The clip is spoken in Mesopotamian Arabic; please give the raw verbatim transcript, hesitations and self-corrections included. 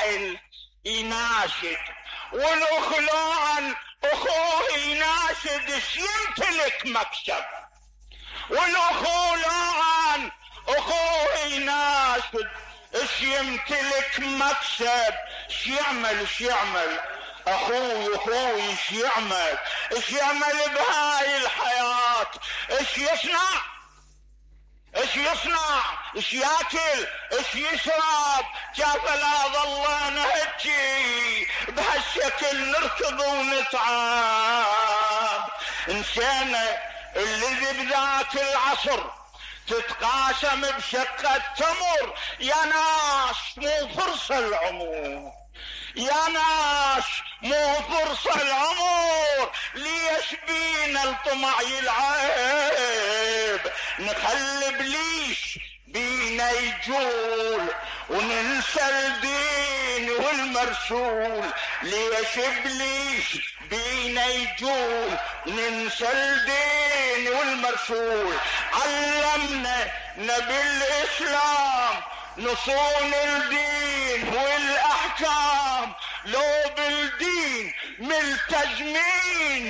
بهاي يناشد، والاخلان اخوه يناشد اش يمتلك مكسب، والاخولان اخوه يناشد اش يمتلك مكسب. اش يعمل اش يعمل اخوي اخوي اش يعمل اش يعمل بهاي الحياة؟ اش يصنع ايش يصنع ايش ياكل ايش يشرب؟ كيف لا ظلنا هجي بهالشكل نركض ونتعب؟ انسانة اللي بذاك العصر تتقاسم بشقة تمر. يا ناس مو فرصة العمر، يا ناس مو فرصة العمر، ليش بينا الطمع يلعب؟ نخلي بليش بينا يجول وننسى الدين والمرسول. ليش بليش بينا يجول وننسى الدين والمرسول؟ علمنا نبي الإسلام نصون الدين والاحكام، لو بالدين ملتزمين ما